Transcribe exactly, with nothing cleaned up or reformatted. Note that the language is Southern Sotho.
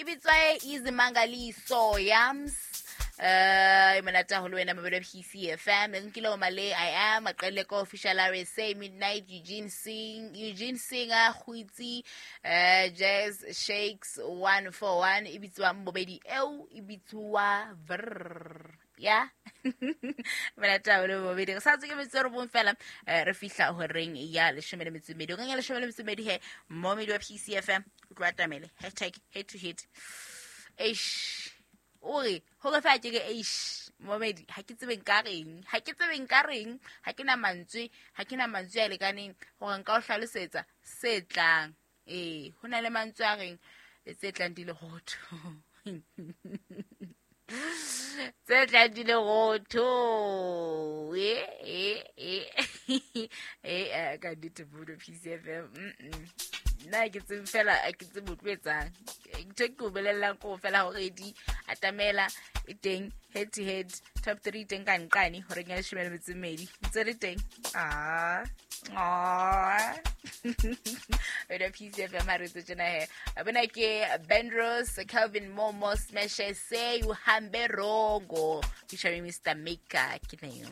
bitswa Izimangaliso Yams. Eh, monate haholo wena mabelo P C F M. Nkile o male I am aqelle ko official R S A Midnight Eugene Singh Eugene Singer Kgwitsi eh Jazz Shakes one four one e bitswa Mbobedi eo e bitswa Vrr. Ya monate haholo Mbobedi re sa tswe ke metso re bong fela re fihla horeng ya leshome le metso e mmedi. O kenya leshome le metso e mmedi he momedi wa P C F M o tlo atamele hashtag head to head. Eish ore hore fa ke re eish momedi ha ke tsebe nka reng ha ke tsebe nka reng ha ke na mantswe ha ke na mantswe a lekaneng hore nka o hlalosetsa se tlang. Eh ho na le mantswe a reng tse tlang di le hotho tse tlang di le hotho eh eh eh eh ka nnete Bodo P C F M. Nna ke tsebe fela ke tsebe o tlo etsang ntho ke o bolellang ko fela hore di atamela e teng head to head top three teng ka nqane hore ya leshome le metso e mmedi ntse le teng. Ah ah wena P C F M ha re tse tjena he bona ke Bendros Calvin Momo Smash say uhambe rongo featuring Mister Maker ke neng.